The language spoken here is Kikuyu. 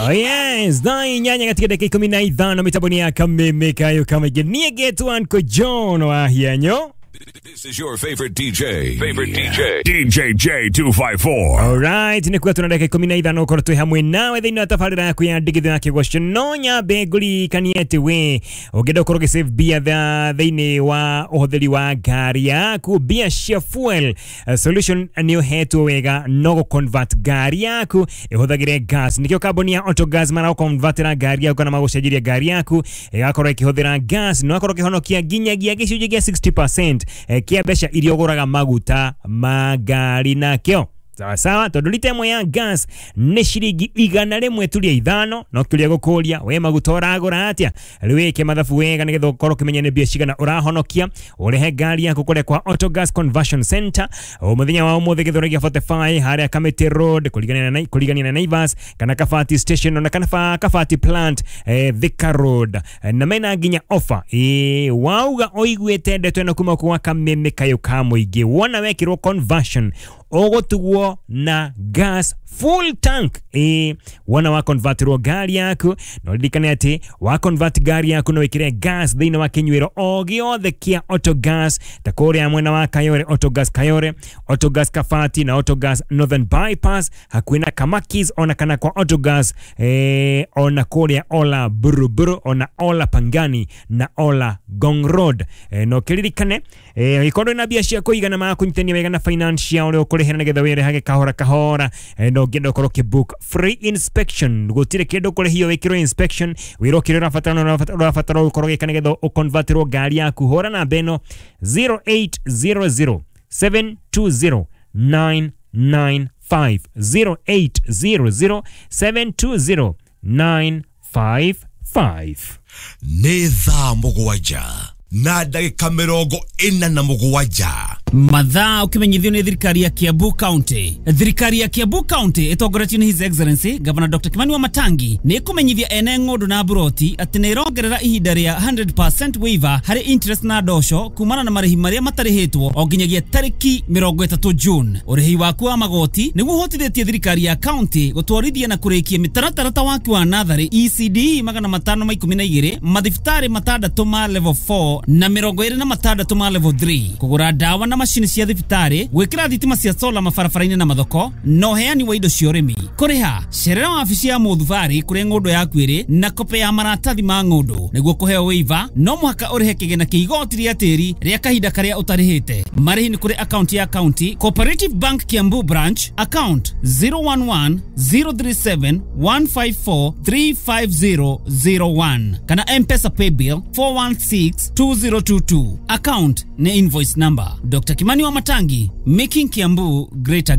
Oh yes, 8 katika dakika 15 mitaboni ya Kameme Kayo kama niege Uncle John wa hianyo. This is your favorite DJ. Favorite DJ. DJ J254. Alright, ni kwa tuna dakika 15 ukorwo twi hamwe nawe thiini wa tabarĩra yaku ya ndigithũ ya kĩgoco no nyambe ngũririkanie atĩ we ũngĩenda ũkorwo ũgĩ save mbia thĩinĩ wa ũhũthĩri wa ngari yaku, mbia cia fuel solution nĩ ũhetwo wega no gũ convert ngari yaku ĩhũthagĩre gas. Nĩkĩo kambuni ya Autogas maragũconvertĩra ngari yaku kana magũcenjeria ngari yaku ĩgakorwo ĩkĩhũthĩra gas, no akorwo ũkĩhonokia nginyagia gĩcunjĩ kĩa 60% kia mbeca iria ũgũraga maguta ma ngari nakĩo. Sawa sawa, tondu lita ĩmwe ya gas nĩ ciringi 103.5, no kĩũria gũkũria we maguta ũragũra atĩa? Rĩu wĩke mathabu wega nĩgetha ũkorwo ũkĩmenya nĩ mbia cigana ũrahonokia ũrehe ngari yaku kũrĩa kwa Autogas Conversion Center o mũthenya wa ũmũthĩ Gĩthũrai 45 harĩa Kamiti Road kũrigania na Naivas kana Kabati Station ona kana Kabati Plant Thika Road, na mena nginya offer wauga ũiguĩte ndeto ĩno kuma kwa Kameme Kayo ka mũingĩ, wona wekĩrwo conversion ũgũtugwo na gas full tank. Wona wa convertirwo ngari yaku no ririkane atĩ wa convert ngari yaku no wĩkĩre gas thĩinĩ wa kĩnyuĩro o gĩothe kĩa Autogas ta kũrĩa mwena wa Kayore, Autogas Kayore, Autogas Kabati na Autogas Northern Bypass hakuhĩ na Kamakis, ona kana kwa Autogas ona kũrĩa Ola Buruburu, ona Ola Pangani na Ola Ngong Road. No kĩririkane ĩkorwo na mbia cia kũigana makũnyitania wega na financial ũrĩa ũkũrĩhĩra nĩgetha wĩrehage kahora kahora. No ũngĩenda ũkorwo ũkĩ-book free inspection, gũtirĩ kĩndũ ũkũrĩhio wĩkĩrwo inspection, wĩrwo kĩrĩa ũrabatara ũrabatara ũkorwo ũgĩka nĩgetha ũconvertirwo ngari yaku. Hũra namba ĩno 0800 720 995, 0800 720 955. Nĩ thaa 7:47. Mathaa ukimenyithio nĩ thirikari ya Kiambu County. Thirikari ya Kiambu County ĩtongoretio nĩ His Excellency Governor Dr. Kimani Wamatangi nĩ ĩkũmenyithia ene ng'ũndũ na mburoti atĩ nĩ ĩrongerera ihinda rĩa 100% waiver harĩ interest na ndosho kumana na marĩhi marĩa matarĩhĩtwo o nginyagia tarĩki 30 June. Ũrĩhi waku wa magoti nĩguo ũhotithĩtie thirikari ya county gũtwarithia na kũrĩkia mĩtaratara ta waki wa natharĩ ECD 512, mathibitarĩ 6 ma level 4 na 26 ma level 3, kũgũra ndawa na macini cia thibitarĩ, gwĩkĩra thitima cia sola mabarabara-inĩ na mathoko, na ũheani wa indo cia ũrĩmi. Kũrĩha cerera wabici ya mũthubarĩ kũrĩa ng'ũndũ yaku ĩrĩ na kope ya maratathi ma ng'ũndũ. Nĩguo kũheo waiver no mũhaka ũrĩhe kĩgĩna kĩa igoti rĩa tĩri rĩa kahinda karĩa ũtarĩhĩte. Marĩhi nĩ kũrĩ akaunti ya county Cooperative Bank Kiambu Branch, account 011 037 154 35001 kana M-Pesa paybill 416 2022. Account ni invoice number. Dr. Kimani Wamatangi, making Kiambu great again.